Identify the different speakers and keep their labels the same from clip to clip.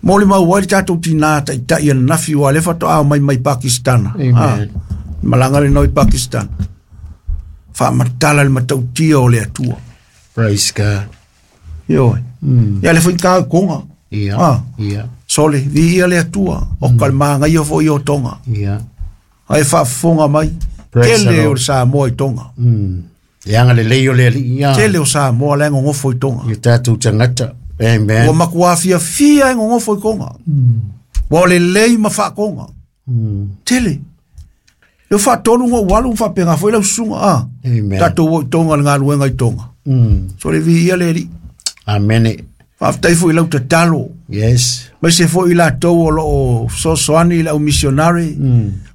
Speaker 1: Molimau ai le tatou tinā taitai ananafi ua le faatoa mai mai Pakistana.
Speaker 2: Amen.
Speaker 1: Malaga lenei i Pakistana. Faamatala le matautia o le Atua.
Speaker 2: Praise God.
Speaker 1: Ioe. Ia le foi ka konga.
Speaker 2: Ia.
Speaker 1: Ah.
Speaker 2: Ia.
Speaker 1: Sole, viia le Atua. O ka le magaia foi o Tonga.
Speaker 2: Ia.
Speaker 1: Ai faafofoga mai.
Speaker 2: Praise the
Speaker 1: Tele
Speaker 2: Lord.
Speaker 1: o le Samoa i Tonga.
Speaker 2: E agalelei o le Alii ia.
Speaker 1: Tele o Samoa la e gogofo i Tonga.
Speaker 2: I o tatou tagata. Amen.
Speaker 1: Ua matua fiafia e gogofo i Toga. Ua o lelei ma faakoga. Tele. Le faatolu na ou alu ma faapena foi lau susuga. Ah.
Speaker 2: Amen.
Speaker 1: Tatou o i Toga le galuega i Toga. So le viia le Alii.
Speaker 2: Amene.
Speaker 1: Faafetai foi i lau tatalo.
Speaker 2: Yes.
Speaker 1: Aemaise foi i latou o loo fesoasoani i le au missionary.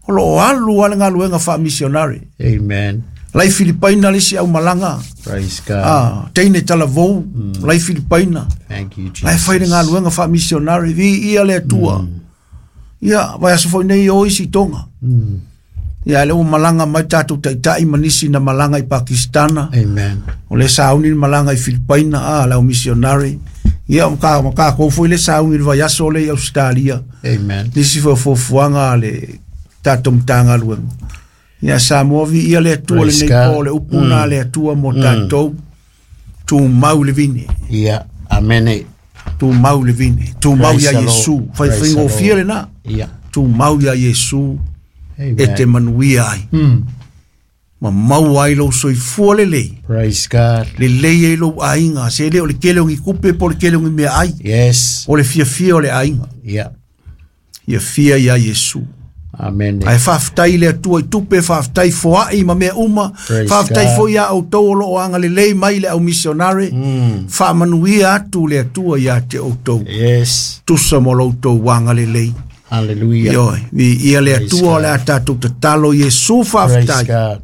Speaker 1: O loo alu lava le galuega faa-missionary.
Speaker 2: Amen.
Speaker 1: Lai Filipaina le isi au malaga.
Speaker 2: Praise God.
Speaker 1: Ah, teine talavou, lai Filipaina.
Speaker 2: Thank you, Jesus.
Speaker 1: Lai fai le galuega faa-missionary, viia le Atua. Ia, vaiaso foi nei o isi Toga. Ia, le ua malaga mai tatou taitai ma nisi na malaga i Pakistana.
Speaker 2: Amen.
Speaker 1: O le sauni le malaga i Filipaina, ah, le au missionary. Ia, ma kakou foi le sauni le vaiaso le i Australia.
Speaker 2: Amen.
Speaker 1: Nisi foi o fuafuaga a le tatou Matagaluega. Ia, Samoa viia le Atua
Speaker 2: Praise
Speaker 1: lenei
Speaker 2: God.
Speaker 1: po le upu na le Atua mo tatou. Tumau le vine.
Speaker 2: Ia. Amene.
Speaker 1: Tumau le vine. Tumau
Speaker 2: Praise
Speaker 1: ia
Speaker 2: the Lord.
Speaker 1: Iesu.
Speaker 2: Praise the
Speaker 1: Faifaigofie
Speaker 2: Lord.
Speaker 1: lena.
Speaker 2: Ia.
Speaker 1: Tumau ia Iesu
Speaker 2: Amen.
Speaker 1: e te manuia ai. Ma maua ai lou soifua lelei.
Speaker 2: Praise God.
Speaker 1: Lelei ai lou aiga. Se le o le kele o ni kupe po le kele o ni mea ai.
Speaker 2: Yes.
Speaker 1: O le fiafia o le aiga.
Speaker 2: Ia.
Speaker 1: Ia fia ia Iesu.
Speaker 2: Amene.
Speaker 1: Ae faafetai le Atua i tupe, faafetai foai ma mea uma.
Speaker 2: Praise
Speaker 1: Faafetai
Speaker 2: God.
Speaker 1: foi ia outou o loo agalelei mai le au missionary. Faamanuia atu le Atua ia te outou.
Speaker 2: Yes.
Speaker 1: Tusa mo lo outou agalelei.
Speaker 2: Hallelujah.
Speaker 1: Ioe, viia le
Speaker 2: Praise
Speaker 1: Atua o
Speaker 2: God.
Speaker 1: le a tatou tatalo Iesu
Speaker 2: Praise
Speaker 1: faafetai.
Speaker 2: God.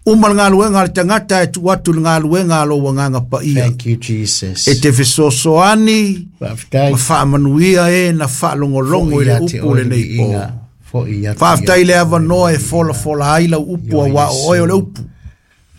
Speaker 1: Uma le galuega a le tagata e tuu atu le galuega a lou Agaga Paia.
Speaker 2: Thank you, Jesus.
Speaker 1: E te fesoasoani
Speaker 2: Faafetai.
Speaker 1: ma faamanuia e na faalogologo i le
Speaker 2: Foi ia te
Speaker 1: upu
Speaker 2: oe le
Speaker 1: lenei po.
Speaker 2: viiga. Foi ia te
Speaker 1: Faafetai
Speaker 2: ia
Speaker 1: le
Speaker 2: te oe
Speaker 1: avanoa
Speaker 2: le
Speaker 1: e folafola ai lau upu
Speaker 2: Ioe
Speaker 1: auā o oe o le
Speaker 2: Iesu.
Speaker 1: upu.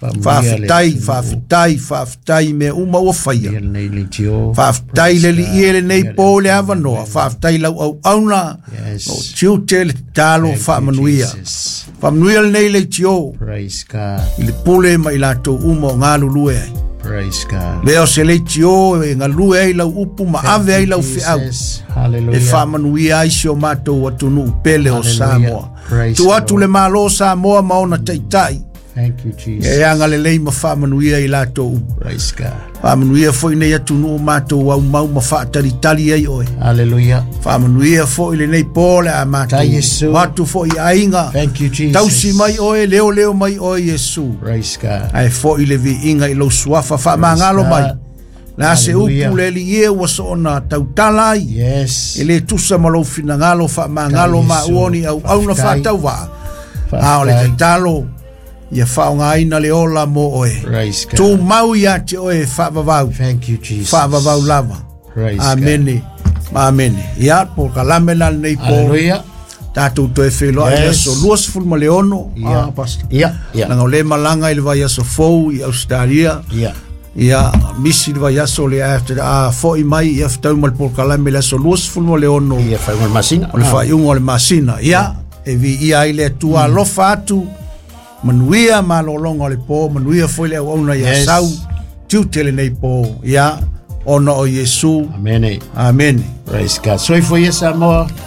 Speaker 2: Faamanuia le
Speaker 1: Faafetai,
Speaker 2: atunuu.
Speaker 1: faafetai, faafetai i mea uma ua faia.
Speaker 2: Ia lenei leitio.
Speaker 1: Faafetai le
Speaker 2: Praise
Speaker 1: Alii e
Speaker 2: God.
Speaker 1: lenei
Speaker 2: Ia le
Speaker 1: po le
Speaker 2: atunuu.
Speaker 1: avanoa. Faafetai lau auauna.
Speaker 2: Yes.
Speaker 1: O tiute le tatalo
Speaker 2: Thank you,
Speaker 1: faamanuia.
Speaker 2: Jesus.
Speaker 1: Faamanuia lenei leitio
Speaker 2: Praise God.
Speaker 1: i le pule ma i latou uma o galulue ai.
Speaker 2: Praise God.
Speaker 1: Lea o se leitio e galue ai lau upu ma ave ai lau feau.
Speaker 2: Jesus.
Speaker 1: E
Speaker 2: Hallelujah.
Speaker 1: faamanuia ai si o matou atunuu pele o
Speaker 2: Hallelujah.
Speaker 1: Samoa.
Speaker 2: Praise
Speaker 1: Tu
Speaker 2: the
Speaker 1: atu
Speaker 2: Lord.
Speaker 1: le Malo o Samoa ma ona taitai.
Speaker 2: Thank you, Jesus.
Speaker 1: E agalelei ma faamanuia i latou uma.
Speaker 2: Praise God.
Speaker 1: Faamanuia foi nei atunuu matou aumau ma faatalitali ai oe.
Speaker 2: Hallelujah.
Speaker 1: Faamanuia foi lenei po le a matou.
Speaker 2: Tai Iesu.
Speaker 1: O atu foi i aiga.
Speaker 2: Thank you, Jesus.
Speaker 1: Tausi mai oe, leo leo mai oe Iesu.
Speaker 2: Praise God.
Speaker 1: Ae foi le viiga i lou suafa faamagalo
Speaker 2: Praise
Speaker 1: mai.
Speaker 2: God.
Speaker 1: Le a se
Speaker 2: Hallelujah.
Speaker 1: upu le Alii e ua soona tautala ai.
Speaker 2: Yes.
Speaker 1: E le tusa ma lou finagalo faamagalo
Speaker 2: Tai
Speaker 1: ma
Speaker 2: Iesu.
Speaker 1: ua ni auauna
Speaker 2: Faafetai.
Speaker 1: faatauvaa. A o le
Speaker 2: Faafetai.
Speaker 1: tatalo ia faaaogaina le ola mo oe.
Speaker 2: Praise God.
Speaker 1: Tumau ia te oe faavavau.
Speaker 2: Thank you, Jesus.
Speaker 1: Faavavau lava.
Speaker 2: Praise God.
Speaker 1: Amene. Ma amene. Ia, po kalame la lenei po.
Speaker 2: Hallelujah.
Speaker 1: Tatou toe feiloai i le
Speaker 2: Yes.
Speaker 1: aso 26.
Speaker 2: Ia.
Speaker 1: Ah, Pastor.
Speaker 2: Ia. Ia.
Speaker 1: Leaga o le malaga i le vaiaso fou i Australia.
Speaker 2: Ia.
Speaker 1: Ia, misi le vaiaso le after, a foi mai ia fetau ma le polokalame le aso 26
Speaker 2: Ia faaiuga o le masina.
Speaker 1: o le faaiuga o le masina. Ia, e viia ai le Atua alofa atu, manuia malologa o le po, manuia foi le auauna ia
Speaker 2: Yes.
Speaker 1: sau, tiute lenei po. Ia, ona o Iesu.
Speaker 2: Amene.
Speaker 1: Amene.
Speaker 2: Praise God. Soifua ia Samoa.